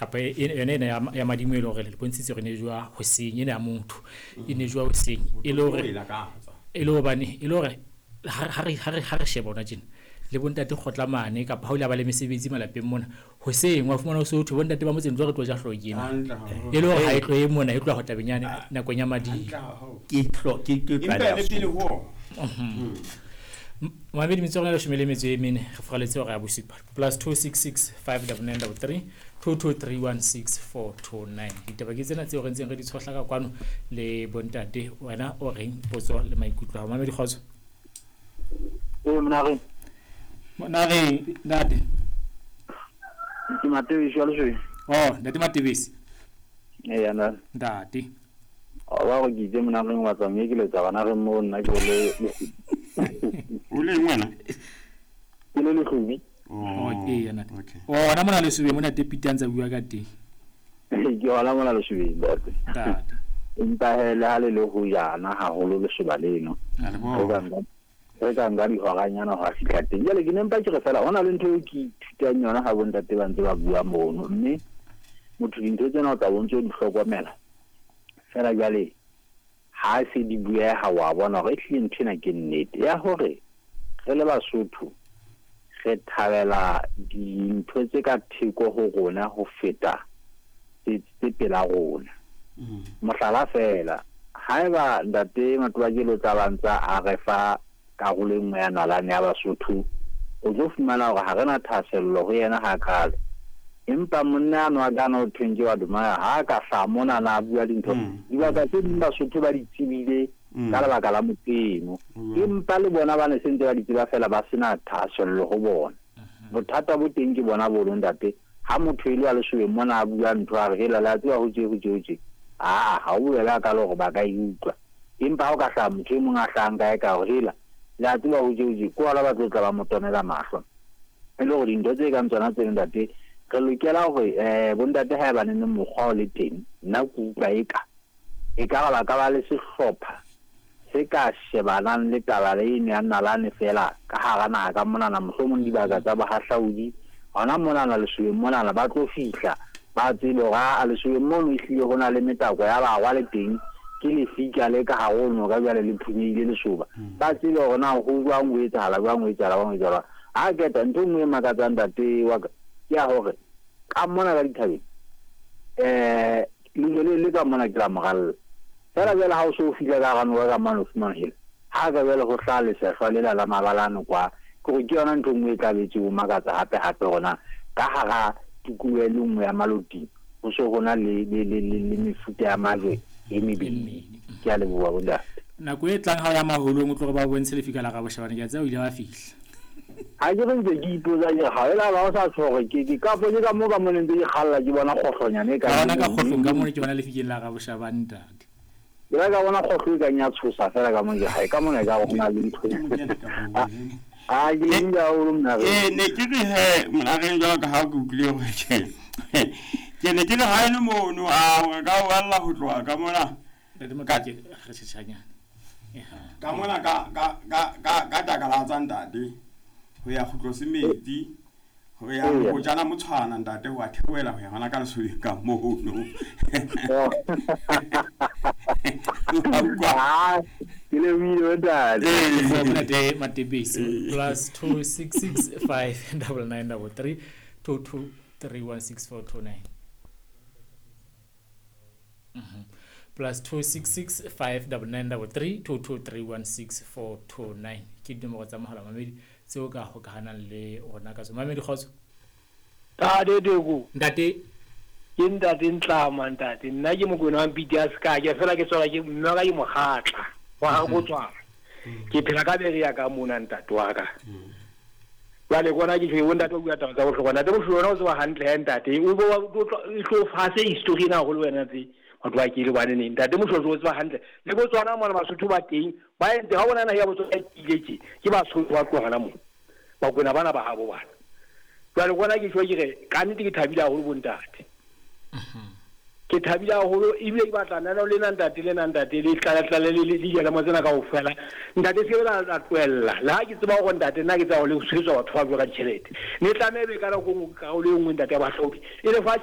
Kapa yona ena ya madimo e le hore le bontshitse hore ne jowa hoseng, ena ya motho e ne jowa hoseng, e le hore e le hobane e le hore ha re sheba hona tjena le bontate kgotla mane kapa ha o ile ba le mesebetsi malapeng mona hoseng wa fumana ho se ho thwe bontate ba motseng tlo re tlo ja hlooho ke ena, e le hore ha e tlohe mona, e tloha ho tabeng yane nakong ya madimo. Ke tlo ke ke Empa le pele ho ona. Mamedi, metso ya rona 14, re furaletse hora ya bosupa. +266 599 33 22316429. Ditaba ke tsena tseo re ntseng re di tshohla ka kwano le bontate. Wena o reng? Potso le maikutlo a hao. Mamedi, kgotso. Ee, monareng. Monareng, ntate. Ke Matebesi wa Lesweng. Oh, ntate Matebesi. Ee, ntate. Ntate. O ba gore ke itse monareng wa tswa mme ke letsa bana re mo nna ke le O leng wena? Ke le Lehlobi. Oh, ee, ntate. Oh, ona mona Lesobeng mona te Peter a ntse a bua ka teng. Ke hona mona Lesobeng, ntate. Ntate. Empa he le ha le le ho jana haholo lesoba leno. Re ka nka dihoranyana ho a fihla teng. Jwale ke ne mpa ke re fela ho na le ntho eo ke ithutang yona ha bontate ba ntse ba bua mono, mme motho dintho tsena o tla bo ntse o di hlokomela. Fela jwale ha se di bueha wa bona hore ehlile ntho ena ke nnete ya hore re le Basotho re thabela dintho tse ka theko ho rona ho feta tse pela rona. Mohlala fela, haeba ntate Matobakele o tla ba ntsa a re fa karolo e nngwe ya nalane ya Basotho, o tlo fumana hore ha re na thahasello ho yena hakalo. Empa monna ano a kana o thweng ke wa Dumaya ha ka hlaha mona na bua dintho, dibaka tse ding Basotho ba di tsebile ka lebaka la motho eno, empa le bona ba ne se ntse ba di tseba fela ba sena thahasello ho bona. Bothata bo teng ke bona bono, ntate. Ha motho e le wa Lesobeng mona a bua ntho a re hela le a tseba ho tje ho tje ho tje, aa ha o bobebe hakalo hore ba ka e utlwa. Empa ha o ka hlaha motho e mong a hlahang kae ka hore hela le a tseba ho tje ho tje, ke hona ba tlo tla ba mo tonela mahlo. E le hore dintho tse kang tsona tseno, ntate, re lokela hore bontate ha eba neneng mokgwa o le teng, nna ke utlwa eka ekare ba ka ba le sehlopha se ka shebanang le taba le eno ya nalane fela ka hara naha ka monana, mohlomong dibaka tsa bohahlaudi hona monana Lesobeng monana ba tlo fihla ba tsebe hore a Lesobeng mono ehlile ho na le metako ya barwa le teng, ke lefika le ka hare ho noka jwale le phunyehile lesoba. Ba tsebe hore na ho jwang, ho etsahala jwang, ho etsahala jwang, ho etsahala. Ha keta ntho e nngwe e makatsang, ntate wa ka, ke ya hore ka mona ka dithabeng lejwe le ka mona ke la moralla fela. Jwale ha o so o fihla ka hara noka ka mane o fumana hela ha ka jwale ho hlaha lesehlwa lela la mabalane kwa, ke hore ke yona ntho e nngwe e tla be tse o makatsa hape hape hore ka hara tikoloho e le nngwe ya Maloting ho so ho na le mefuta ya majwe e mebedi. Ke a leboha bontate. Nako e tlang ha o ya maholong o tlo re ba bontshe lefika la Raboshabane, ke a tseba o ile wa fihla. Ha ke re ntse ke ipotsa ke ha ela ba o sa tsho hore ke ka po ke ka mo ka mo ntse ke kgalla ke bona kgohlonyane e ka bona ka kgohlong ka mo ke bona lefikeng la Raboshabane, ntate. Ke la ka bona kgohlo e kang ya tshosa fela ka mo ke ha e ka mona e ka bona le ntho. A ke le nda o mna re. Ne ke re he mna re jwalo ka ha ke utlwile hore ke ne ke le ha ile mono a hore ka o balla ho tloha ka mona. Ntate Mokake, re tjhetjhanyana. Ka mona ka takala tsa ntate ho ya kgutlo semetsi ho ya ho jana motshwana ntate ho a theohela ho ya hona ka Lesobeng ka mono. Ke le buile ntate. Ntate Matebesi +266 599 33 22316429. +266 599 33 22316429 ke dinomoro tsa mohala mamedi tseo ka hokahanang le rona ka tsona. Mamedi, kgotso. Ntate Teko. Ntate. Ke ntate Ntlama, ntate. Nna ke Mokwena wa Mpiti a Sekake, fela ke tswala ke mme wa ka ke mokgatla wa ha go tswala. Ke phela ka bere ya ka mona ntate wa ka. Jwale kona ke tjho ntate o bua taba tsa bohlokwa. Ntate Moshoeshoe wena o tseba hantle he ntate. O bo o tlo fa se history ena haholo wena tse batho ba kile bane neng. Ntate Moshoeshoe o tseba hantle. Le Botswana mona Basotho ba teng ba entse ha bona naha ya Botswana e kile tje ke Basotho ba tloha hona moo. Bakwena bana ba habo bana. Jwale kona ke tjho ke re ka nnete ke thabile haholo bo ntate. Ke thabile haholo ebile ke batla nana le nna ntate le nna ntate le tlale tlale le dijalemo tsena kaofela. Ntate se la tlohella. Le ha ke tseba hore ntate nna ke tseba hore le tshwetsa batho ba bua ka ditjhelete. Ne tlameha ebe ka nako e nngwe karolo e nngwe ntate ya bahlaodi e le fa